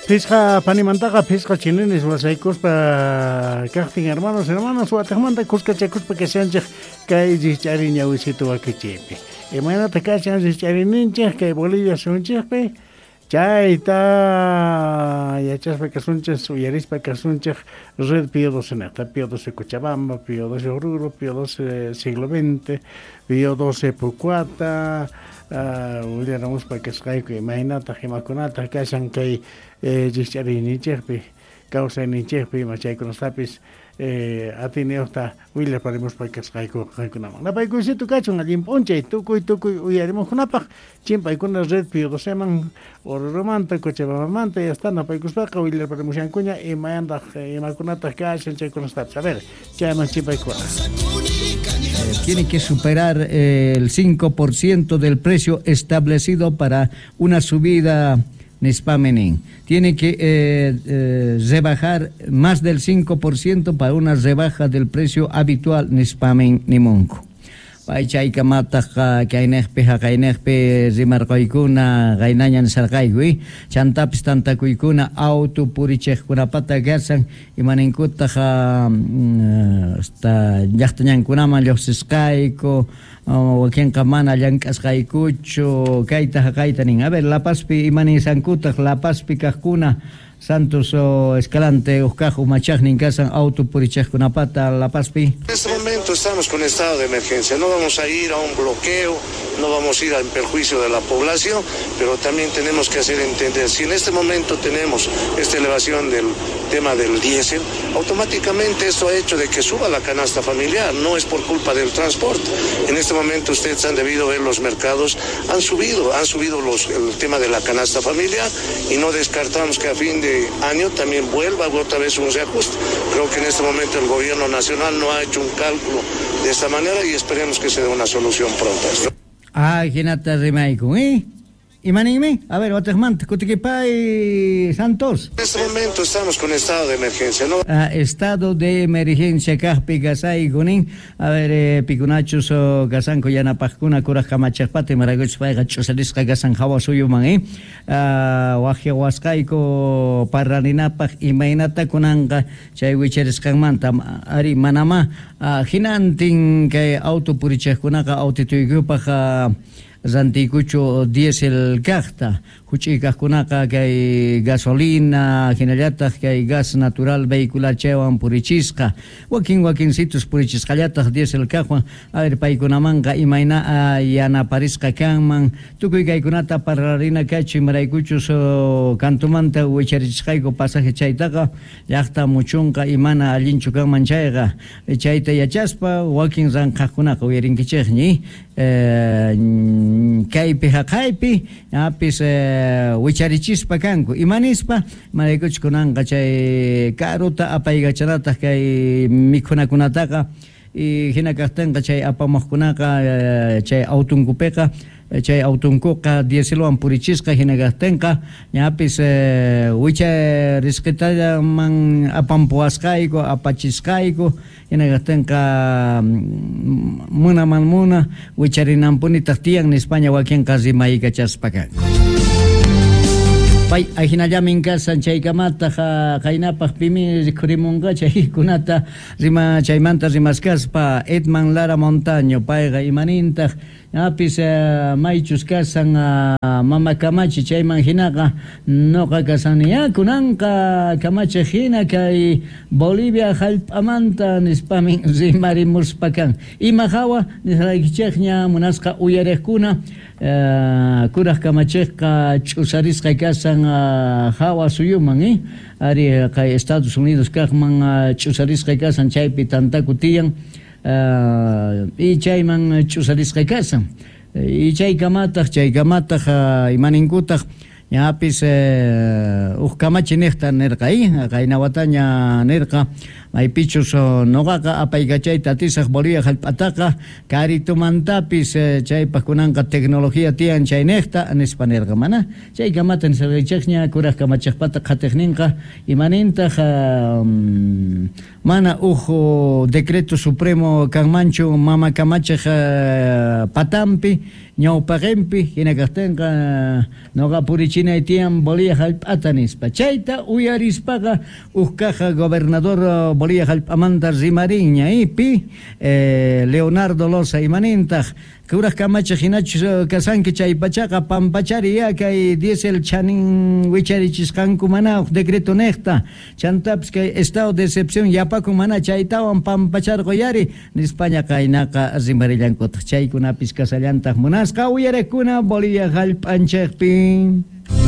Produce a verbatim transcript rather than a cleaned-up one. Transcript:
Pisqa panimantaqa pisqa chininis wasaykuspa kaqtin hermanos hermanas wataqmanta kuskachakuspa kashanchik kay rikch'ari ñawisitu wakichiypi. Imaynata kashan rikch'arininchik kay Bolivia suyunchikpi chayta yachaspa kasunchik uyarispa kasunchik Red Pío doce neta, Pío doce Cochabamba, Pío doce Oruro, Pío doce Siglo veinte, Pío doce Pucuata, willaramuspa kasqayku imaynataq imakunataq kashan kay rikch'ariyninchikpi kawsayninchikpi ima chaykunastapis atiniyuqta willaparimuspa kasqayku qaykunaman. Napaykuysito kachun allin p'unchay tukuy tukuy uyarimuqkunapaq chimpaykuna Red Pío doceman Orurumanta Cochabambamanta ya está napaykuspaqa willaparimushankuña imayantaq imakunataq kashan chaykunastapis. A ver, chayman chimpaykuna. Tiene que superar el cinco por ciento del precio establecido para una subida Nispamenin. Tiene que eh, eh, rebajar más del cinco por ciento para una rebaja del precio habitual Nispamen Nimonco. Pay chaykamataq kaynejpi haqaynejpi rimarqaykuna qaynaña nisarqayku chantapis tantakuykuna auto purichejkunapata kasan imaninkutaq hasta llaqtañankunaman lluqsisqayku wakinqa mana llank'asqaykuchu kayta haqayta nin. A ver, La Pazpi imanisankutaq La Pazpi kaqkuna Santos Escalante uqkaq umachaqnin kasan auto purichejkunapata La Pazpi. En este momento estamos con estado de emergencia, no vamos a ir a un bloqueo, no vamos a ir en perjuicio de la población, pero también tenemos que hacer entender, si en este momento tenemos esta elevación del tema del diésel, automáticamente esto ha hecho de que suba la canasta familiar, no es por culpa del transporte. En este momento ustedes han debido ver los mercados, han subido, han subido los, el tema de la canasta familiar y no descartamos que a fin de año también vuelva otra vez un reajuste. Creo que en este momento el gobierno nacional no ha hecho un cálculo de esta manera y esperemos que se dé una solución pronta. Ay, hinata rimayku, ¿eh? Imanime, a ver, otejmanta, kutikipay Santos. En este momento estamos con estado de emergencia, ¿no? Ah, estado de emergencia, kajpi kasaykunin. A ver, eh, pikunachus o kasanku yanapajkuna kuraj kamachajpata imarakuchus payqa ch'usarisqa kasan hawa suyuman, eh? Ah, wajyawasqayku parraninapaj imaynata kunanqa chay wicharisqanmanta ari manama ah, hinantin kay auto purichajkunaqa autituykupaj ah, rantiykuchu diésel kaqta huch'uy kaqkunaqa kay gasolina hinallataq kay gas natural vehicular chaywan purichisqa wakin wakinsitus purichisqallataq diésel kaqwan. A ver, paykunamanqa imayna yanaparisqa kanman tukuy kaykunata parlarina kachu imaraykuchus kantumanta wicharichisqayku pasaje chaytaqa llaqta muchunqa imana allinchu kanman chayqa chayta yachaspa wakin ranqaqkunaqa uyarinkichikñi eh, kaypi haqaypi apis eh, wicharichispa kanku imanispa imaraykuchus kunanqa chay karuta apaykachanataq kay mikhunakunataqa y hina kaqtinqa chay apamuqkunaqa chay autunkupiqa chay autunkuqa dieselwan purichisqa hina kaqtinqa ñapis eh, wicharisqitallaman apampuwasqayku apachisqayku hina kaqtinqa munaman muna wicharinanpunitaq tiyan nispaña wakinqa rimaykachaspa kanku. Pay ajinallamin kasan chaykamataq qaynapaq pimi rikhurimunqa chaykunata rima chaymanta rimaskaspa Edman Lara Montaño payqa imanintaq apis maychus kasan mama kamachi chayman hinaqa noqa kasani kunanqa kamachi hina kay Bolivia hallp'amanta nispamin rimarimuspa kan ima hawa nisqaykichikña munasqa uyariqkuna kuraj kamachiqqa ch'usarisqa kasan hawa suyuman eh ari kay Estados Unidos kaqman ch'usarisqa kasan chaypi tantaku tiyan y chayman ch'usarisqa kasan y chaykamataq chaykamataq imaninkutaq ñapis uj kamachi niqta nirqa eh qaynawataña nirqa Maypichus noqaqa apaykachayta atisaq Bolivia jallp'ataqa karitumantapis chaypaq kunanqa tecnología tiyan chaynejta nispa nirqa mana chaykamata nisarqaychikña kuraj kamachejpata qhatiqninqa imanintaq mana uj decreto supremo kanmanchu mama kamachej patampi ñawpaqinpi hina kaqtinqa noqa purichinay tiyan Bolivia jallp'ata nispa chayta uyarispaqa uj kaja gobernador Bolivia jallp'amanta rimarinña ipi eh, Leonardo Loza imanintaq kuraj kamachej hinachus kasanki chay pachaqa pampachari ya kay diesel chanin wicharichisqanku mana uj decreto nejta chantapis kay estado de excepción yapakun mana chaytawan pampacharquyari nispaña kaynaqa rimarillankutaq chaykunapis kasallantaq munasqa uyarikuna Bolivia jallp'anchikpi.